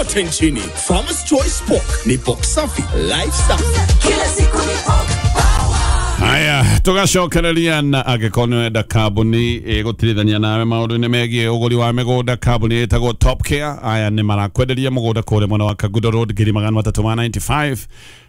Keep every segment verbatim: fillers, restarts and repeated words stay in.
kote nchini. Farmers Choice Pork ni pork safi, life safi. Kila siku ni pork power. Haya, tugacokereria na angĩkorwo nĩ ũrenda kambuni ĩgũtirithania nawe maũndũ-inĩ megiĩ ũgũri wa mĩgũnda, kambuni ĩtagwo Top Care. Aya nĩ marakwenderia mũgũnda kũrĩa mwena wa Kangundo Road ngiri magana matatũ ma mĩrongo ĩtandatũ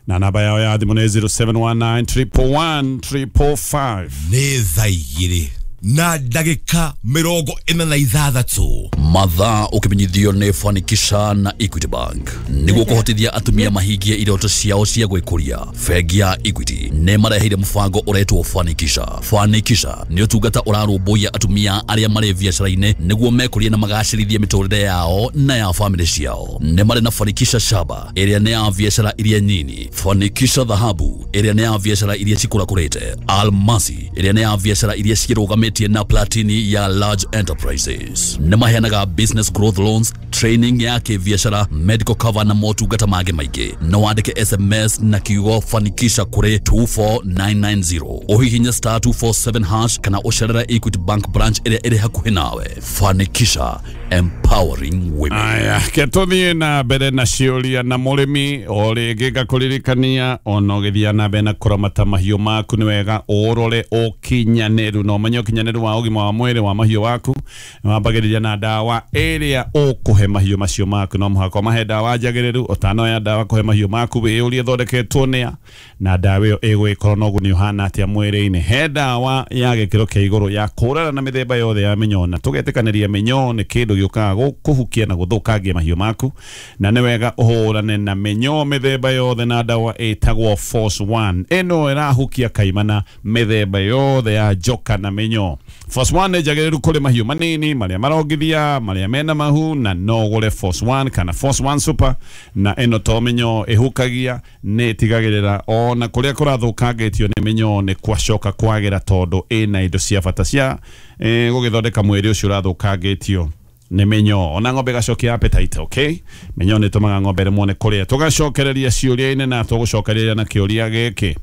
na na namba yao ya thimũ nĩ zero seven one nine, triple one, triple five. Nĩ thaa igĩrĩ na ndagĩka mĩrongo ĩna na ithathatũ. Mathaa ũkĩmenyithio nĩ Fanikisha na Equity Bank nĩguo kũhotithia atumia mahingie iroto ciao cia gwĩkũria. Bengi ya Equity nĩ mareheire mũbango ũretwo Fanikisha. Fanikisha nĩ ũtungata ũrarũmbũiya atumia arĩa marĩ biacara-inĩ nĩguo mekũrie na magacĩrithie mĩtũrĩre yao na ya famĩlĩ ciao. Nĩ marĩ na Fanikisha Shaba, ĩrĩa nĩ ya biacara iria nyini, Fanikisha Dhahabu, ĩrĩa nĩ ya biacara iria cikũrakũrĩte, Almasi, ĩrĩa nĩ ya biacara iria cirũgamĩtie, na Platini ya large enterprises. Nĩ maheanaga business growth loans, training ya kĩbiacara, medical cover na motungata mangĩ maingĩ. No wandĩke S M S na kiugo "Fanikisha" kũrĩ two four nine nine zero, ũhihinye star two four seven hash kana ũcerere Equity Bank branch ĩrĩa ĩrĩ hakuhĩ nawe. Fanikisha, empowering women. Aya, ke tũthiĩ na mbere na ciũria na mũrĩmi. O rĩngĩ ngakũririkania, ona ũgĩthiĩ na mbere na kũramata mahiũ maku, nĩ wega ũrore ũkinyanĩru na ũmenye ũkinyanĩru wa ũgima wa mwĩrĩ wa mahiũ waku wambagĩrĩria na ndawa ĩrĩa ũkũhe mahiũ macio maku. No mũhaka ũmahe ndawa njagĩrĩru. Ũtanoya ndawa kũhe mahiũ maku, wĩyũrie ĩthondeketwo nĩa na ndawa ĩyo ĩgũgĩkorwo na ũguni ũhana atĩa mwĩrĩ-inĩ. He ndawa ya gĩkĩro kĩa igũrũ ya kũrara na mĩthemba yothe ya mĩnyoo, na tũgetĩkanĩria mĩnyoo nĩ kĩndũ gĩũkaga gũ- kũhukia na gũthũkangia mahiũ maku, na nĩ wega ũhũrane na mĩnyoo mĩthemba yothe na ndawa ĩtagwo Force One. Ĩno ĩrahukia kaimana mĩthemba yothe ya njoka na mĩnyoo. Force One nĩ njagĩrĩru kũrĩ mahiũ manini, marĩa marongithia, marĩa mena mahu, na no ũgũre Force One kana Force One Super. Na ĩno to mĩnyoo ĩhukagia, nĩ ĩtigagĩrĩra ona kũrĩa kũrathũkangĩtio nĩ mĩnyoo nĩ kwacoka kwagĩra, tondũ ĩna indo cia bata cia eh, gũgĩthondeka mwĩrĩ ũcio ũrathũkangĩtio nĩ mĩnyoo, ona ng'ombe ĩgacokia appetite. Okay, mĩnyoo nĩ ĩtũmaga ng'ombe ĩremwo nĩ kũrĩa. Tũgacokereria ciũria-inĩ na tũgũcokereria na kĩũria gĩkĩ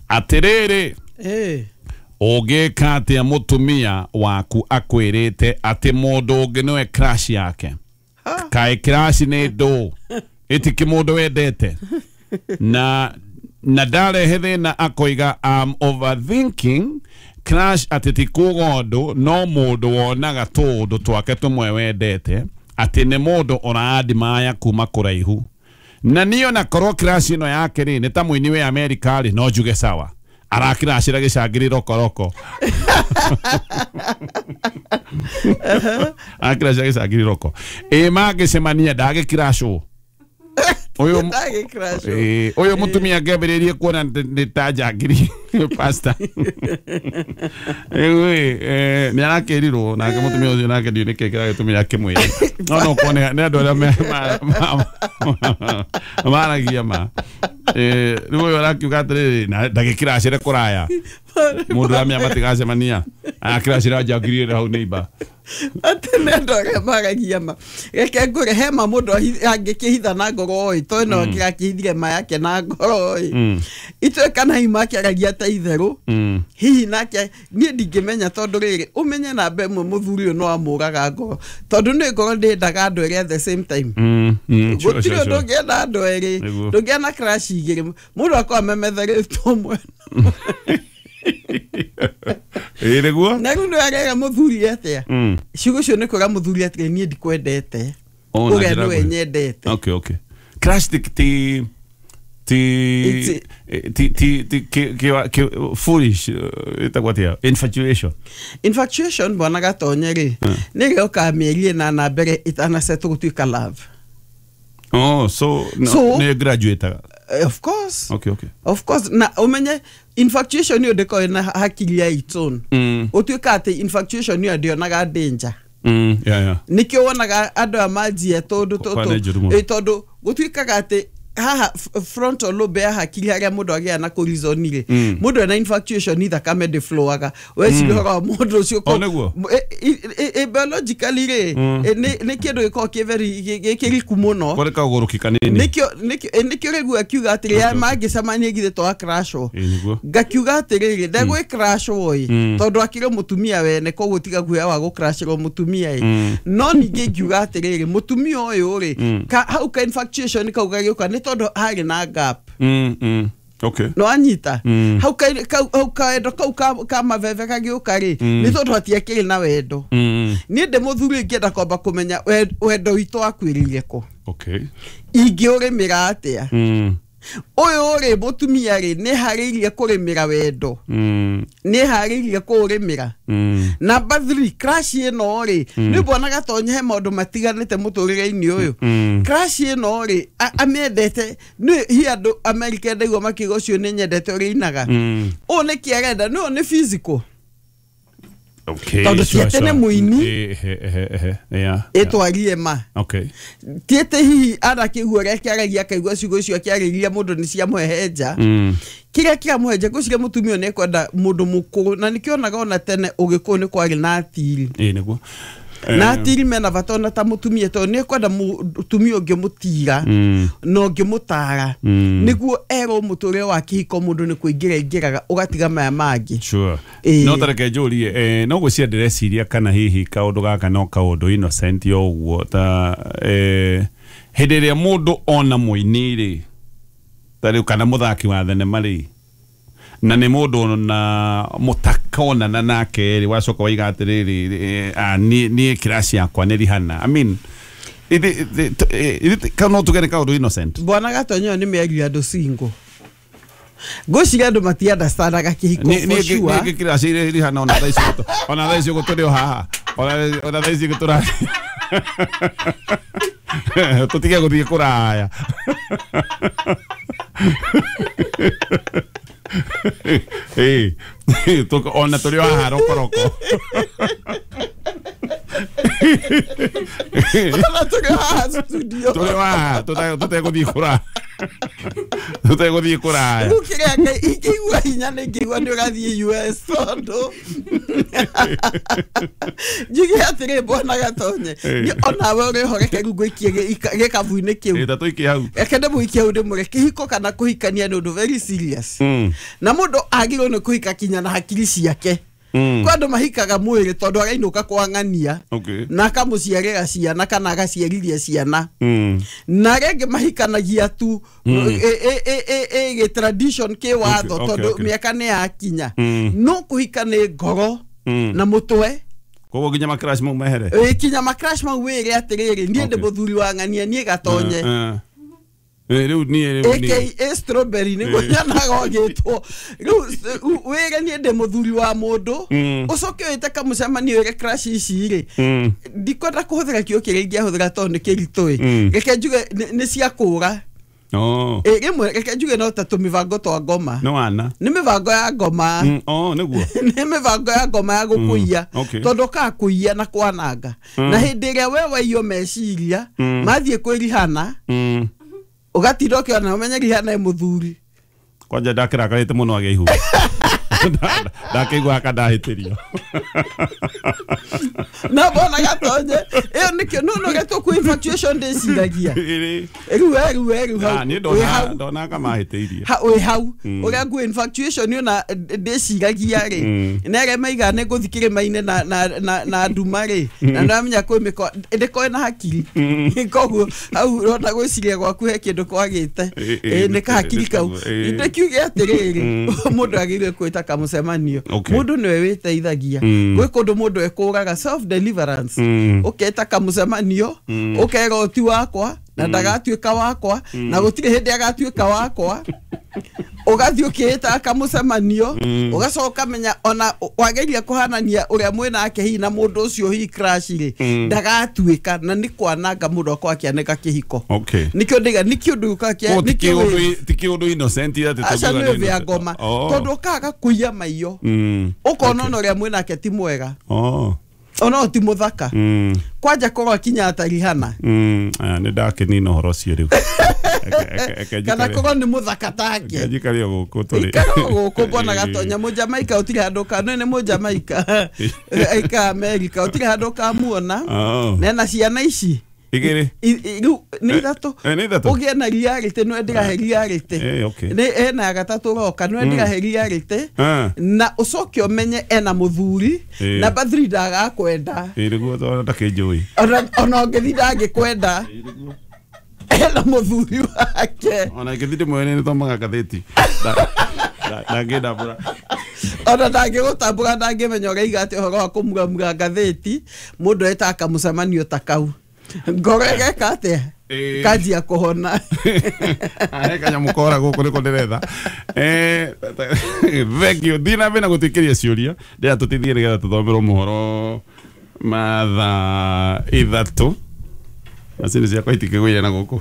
atĩrĩrĩ: Eh. ũngĩka atĩa mũtumia waku akwĩrĩte atĩ mũndũ ũngĩ nĩwe crush yake? Kaĩ crush nĩ ndũ ĩtiki mũndũ wendete na na ndarehe thĩna, akoiga, "I'm overthinking crush," atĩ ti kuga ũndũ no mũndũ wonaga tũũndũ twake tũmwe wendete, atĩ nĩ mũndũ ũraadimaya kuma kũraihu. Na niĩ ona korwo crush ĩno yake rĩ nĩ ta mũini wĩ Amerika rĩ, no njuge sawa, arakiracĩra gĩcangĩrĩ rokoroko, arakiracĩra gĩcangĩrĩ roko. Ĩ mangĩcemania ndagĩkiracwo ũyũ? Ndagĩcrash. Ĩ, ũyũ mũtumia ngĩambĩrĩrie kuona nĩ nĩ ta njangiri, pastor. Rĩu ĩ, eh, nĩ arakĩrirwo nake mũtumia ũcio, nake ndiũ nĩkĩ kĩragĩtũmire akĩmwĩre, no no kuone nĩ andũ arĩa me- ma- ma- maragia ma. Eh, rĩu ũyũ arakiuga atĩrĩrĩ, na ndagĩkiracĩre kũraya, mũndũ ũramenya matigacemania, arakiracĩra njangiri ĩrĩa hau neighbor. Atĩ nĩ andũ arĩa maragia ma. Reke ngũre he ma mũndũ ahi- angĩkĩhitha na ngoro ĩ, to ĩno kĩrakĩhithire ma yake na ngoro ĩ, itũĩ kana hihi makĩaragia ta itherũ. Mm. Hihi nake niĩ ndingĩmenya, tondũ rĩrĩ, ũmenye namba ĩmwe, mũthuri ũyũ no amũraga ngoro, tondũ nĩ ngoro ndĩendaga andũ erĩ at the same time. Mm, mm, sure, Gũtirĩ sure, ũndũ sure. ũngĩenda andũ erĩ. Nĩguo. Ndũngĩenda crush igĩrĩ, mũndũ akorwo amemetherĩtwo mwena. Ĩ nĩguo. Na rĩu nĩ arera mũthuri atĩa? Mm. Ciugo icio nĩ kwĩra mũthuri atĩrĩ, "Niĩ ndikwendete." Oh, na ũrĩa njĩra nĩwe nguhĩ. nyendete. okay okay crush ti ti ti It's- ti ti ti ki ki ki foolish, eh, ĩtagwo atĩa, infatuation? Infatuation, bwana Gatonye, rĩ nĩ ĩrĩa ũkaga mĩeri ĩnana mbere ĩtanacetwo gũtuĩka love. Oh, so no, So- nĩ graduate? Eh, of course. okay okay Of course. Na ũmenye infatuation ĩyo ndĩkoragwo na hakiri ya its own. Mm. Ũtuĩka atĩ infatuation ĩyo ndĩonaga danger. mm yeah yeah Nĩkĩo wonaga andũ aya manjia tondũ Kwa nĩ njũru mũno. tondũ gũtuĩkaga atĩ Haha frontal lobe ya hakiri haria mundu agĩa na kũrizoni rĩ, mundu ena infatuation thakame ndĩflowaga weciria ũhoro wa mũndũ ũcio. Oh, nĩguo? Biologically rĩ, nĩ kĩndũ gĩkoragwo kĩ very gĩkĩriku mũno. Kore kaũgũrũki kanini. Nĩkĩo nĩkĩo rĩu akiuga atĩrĩ mangĩcemania githĩ to akrashwo. Ngakiuga atĩrĩrĩ ndegwĩ crashwo ĩ tondũ akĩrĩ mũtumia wene, koguo tiga guoya wa gũcrashĩrwo mũtumia ĩ. No ningĩ ngiuga atĩrĩrĩ mũtumia ũyũ rĩ, hau ka infatuation kau gagĩũka nĩ tondũ harĩ na gap. Mm, mm. Okay. No anyita hau ka hau kaendo kau ka maveve kagĩũka rĩ, nĩ tondũ hatiakĩrĩ na wendo. Niĩ ndĩ mũthuri ingĩenda kwamba kũmenya wendo witũ wakuĩrĩire kũ. Okay. Ingĩũrĩmĩra atĩa? Ũyũ rĩ mũtumia rĩ nĩ harĩirie kũrĩmĩra wendo, nĩ harĩirie kũũrĩmĩra. Number three, crush ĩno rĩ nĩ mbona Gatonye he maũndũ matiganĩte mũtũrĩre-inĩ ũyũ. Crush ĩno rĩ amĩendete nĩ hi andũ America ndaigua makiuga ũcio nĩ nyendete ũrĩa inaga. Ũũ nĩkĩ arenda? Nĩ nĩ physical. Okay. Tondũ ti atĩ nĩ mũini ĩtwarie ma. Okay. Ti atĩ hihi arakĩigua ũrĩa akĩaragia akaigua ciugo icio akĩarĩria mũndũ nĩ ciamũhehenja. Kĩrĩa kĩramũhehenja ngwĩciria mũtumia ũyũ nĩekwenda mũndũ mũkũrũ, na nĩkĩonaga ona tene ũgĩkũyũ nĩ kwarĩ na atiri. Ĩĩ nĩguo. Na atiri mena bata ona ta mũtumia tondũ nĩekwenda mũtumia ũngĩmũtira na ũngĩmũtara nĩguo erwo mũtũrĩre wa kĩhiko mũndũ nĩ kũingĩra aingĩraga ũgatiga maya mangĩ. Sure. No tareke njũrie, no gwĩciria ndĩreciria kana hihi kaũndũ gaka no kaũndũ innocent o ũguo ta hĩndĩ ĩrĩa mũndũ ona mũini rĩ ta rĩu kana mũthaki wa thenema rĩ na nĩ mũndũ na mũtakonana nake rĩ wacoka waiga atĩrĩrĩ niĩ crush yakwa nĩ Rihanna. I mean no tugere kaũndũ innocent. Bwana Gatonye nĩ mĩario ya andũ single. Ngwĩciria andũ matiunderstandaga kĩhiko for sure. Niĩ crush Rihanna ona thaa ici ona thaa ici ũguo tũrĩ o haha ona thaa ici ũguo tũra tũtige gũthiĩ kũraya. Eh, ona tũrĩ o haha rokoroko. Ona tũrĩ o haha studio. Tũrĩ o haha tũtegũthiĩ kũraya. Tũtegũthiĩ kũraya. Rĩu kĩrĩa ingĩigua hinya nĩ ngĩigua nĩ ũrathiĩ U S tondũ njuge atĩrĩ Bwana Gatonye onawe ũrĩ ho reke rĩu ngũikie gĩkabu-inĩ kĩu. Ta tũikie hau. Reke ndĩmũikie hau ndĩmwĩre kĩhiko kana kũhikania nĩ ũndũ very serious. Na mũndũ agĩrĩirwo nĩ kũhika kinya na hakiri ciake. Kwa andũ mahikaga mwĩrĩ tondũ arainũka kwang'ania na akamũciarĩra ciana kana agaciarithia ciana. Na arĩa angĩ mahikanagia tu ĩ tradition kĩwatho tondũ mĩaka nĩ yakinya. No kũhika nĩ ngoro na mũtwe. Koguo nginya macrash mau mehere. Ĩ kinya macrash mau wĩre atĩrĩrĩ niĩ ndĩ mũthuri wa ng'ania niĩ Gatonye. Rĩu niĩ rĩu niĩ A K A strawberry nĩguo nyonaga ũgĩtwo. Rĩu wĩre niĩ ndĩ mũthuri wa mũndũ ũcoke wĩte kamũcemanio wĩre crush ici rĩ ndikwenda kũhũthĩra kiugo kĩrĩa ingĩahũthĩra tondũ nĩ kĩritũ ĩ reke njuge nĩ cia kũra. Oh. Ĩ rĩmwe reke njuge no ta tũmĩbango twa ngoma. No wana. Nĩ mĩbango ya ngoma. Oh nĩguo. Nĩ mĩbango ya ngoma ya gũkũiya tondũ ũkaga kũiya na kwananga. Na hĩndĩ ĩrĩa we waiywo meciria mathiĩ kwĩ Rihanna ũgatinda ũkĩona ũmenye Rihanna ĩ mũthuri. Kwanja ndakĩrakarĩte mũno agĩa ihu. Ndakĩigua aka ndahĩtĩrio. Na Bwana Gatonye ĩyo nĩkĩo no no ũrĩa tũkũ infatuation ndĩciragia. Rĩu rĩu rĩu hau. Niĩ ndona ndona ka mahĩtĩirie. Wĩ hau ũrĩa ngũ infatuation ona ndĩciragia rĩ na arĩa maigaga nĩ ngũthiĩ kĩrĩma-inĩ na na na nduma rĩ na ndamenya kwĩ mĩko ndĩkorwo na hakiri. Koguo hau ũrona gwĩciria gwaku he kĩndũ kwagĩte nĩ kahakiri kau. Ndĩkiuge atĩrĩrĩ mũndũ agĩrĩirwo kwĩta kamũcemanio. Mũndũ nĩwe wĩteithagia. Gwĩ kũndũ mũndũ ekũraga self deliverance. Ũketa kamũcemanio ũkera ti wakwa na ndagatuĩka wakwa na gũtirĩ hĩndĩ agatuĩka wakwa. Ũgathiĩ ũkĩĩta kamũcemanio ũgacoka ũkamenya ona wageria kũhanania ũrĩa mwĩnake hihi na mũndũ ũcio hihi crush rĩ ndagatuĩka na nĩ kwananga mũndũ akorwo akĩanĩka kĩhiko. Nĩkĩo ndĩga nĩkĩo ũndũ ũkaga nĩkĩo ti kĩũndũ innocent atĩ aca nĩ ũthĩa ngoma tondũ ũkaga kũiya maiyo ũkona ona ũrĩa mwĩnake ti mwega. Ona ti muthaka. Mm. Kwanja korwo akinya atarihana. Mm, ah, nĩ ndakinina ũhoro ũcio rĩu. Eke- eke- Kana eke korwo nĩ mũthaka take. njikare njikare o gũkũ tũrĩ. Ikara gũkũ mbona gatonya mũjamaika ũtirĩ handũ ka nĩ mũjamaika aika Amerika ũtirĩ handũ kamuona. Oh. Nena ciana ici Igĩrĩ. I- i- rĩu nĩ ithatũ. Eh, nĩ ithatũ? Ũgĩe na reality nĩ ndĩrahe reality. Eh, okay. Nĩ ena ya gatatũ roka nĩ ndĩrahe reality. Ah. Na ũcoke ũmenye ena mũthuri. Eh. Namba three ndagakwenda. Ĩ nĩguo tondũ ndakĩnjũĩ. Ona ona ũngĩthiĩ ndangĩkwenda. Ena mũthuri wake. Ona ingĩthiĩ ndĩmwene nĩ thomaga ngathĩti. Nda- nda- Ndangĩndambũra. Ona ndangĩgũtambũra ndangĩmenya ũraiga atĩ ũhoro wa kũmuramura ngathĩti mũndũ etaga kamũcemanio ta kau ngoro ĩgeka atĩa Ĩĩ. kanjia kũhona. He kanyamũ kora gũkũ nĩko ndĩretha. Eh, thank you. Thiĩ na mbere na gũtwĩkĩria ciũria ndĩra tũteithie nĩgetha tũthomerwo mohoro mathaa ithatũ. Macini ciakwa itikĩgũire na gũkũ.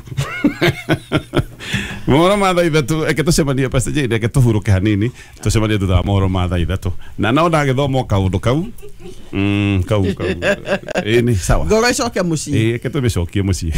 Mohoro ma thaa ithatũ eke tũcemanie Pastor Jane reke tũhurũke hanini tũcemanie thutha wa mohoro ma thaa ithatũ na no ndagĩthoma o kaũndũ kau. Mm, kau kau. Ĩĩ nĩ sawa. Ngoro ĩcoke mũciĩ. Ĩĩ reke tũmĩcokie mũciĩ.